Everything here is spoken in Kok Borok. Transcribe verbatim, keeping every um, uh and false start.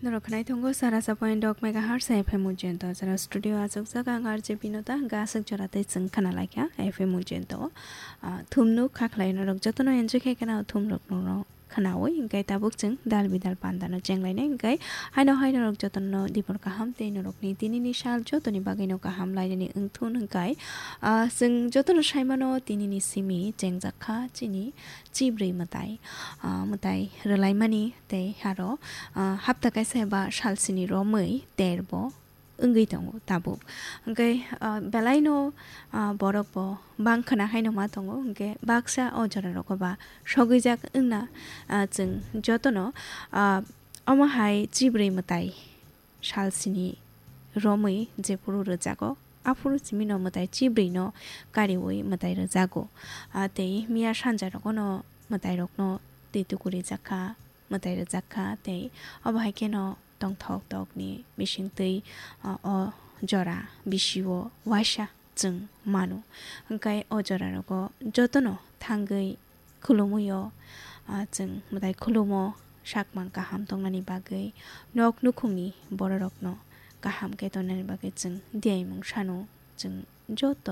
Norok khwnai tongo sara sa point dok megahertz F M Ujjayanta. Jara studio achukjak ang R J Binota, hwnkhe aswk jora tei chwng khna laikha F M Ujjayanta o. Ah, thumnu kha khlai norok jotono enjoy khe khna thum rok norok khnaui, hwnkhe tabuk chwng dal bidal panda no chenglainai, hwnkhe haino hai norok jotono dibor kaham tei norokni tinini sal jotoni bagwi no kaham lainani wngthun hwnkhe, ah, chwng jotono saimano tinini simi chengjak kha chini chibrwi mwtai, ah, mwtai rwlaimani tei aro, ah, hapta kaisa eba salsini romwi terbo wngwi tongo tabuk. Hwnkhe, ah, belaino, ah, borok bo bang khna haino ma tongo, hwnkhe baksa o jora rogo ba sogwijak wngna, ah, chwng jotono, ah, omo hai chibrwi mwtai salsini romwi jephuru rwjago, aphuru simino mwtai chibrwino kariui mwtai rwjago. Ah, tei miya sanja rogono mwtai rokno twi tukurijak kha, mwtai rwjak kha, tei obo hai kheno tongthok tokni bisingtwi, ah, o jora bisio waisa chwng mano. Hwnkhe o jora rogo jotono thangwi khulumwi o, ah, chwng mwtai khulumo sakmang kaham tongnani bagwi nok nukhungni bororokno kaham khe tongnani bagwi chwng diyaimung sano chwng joto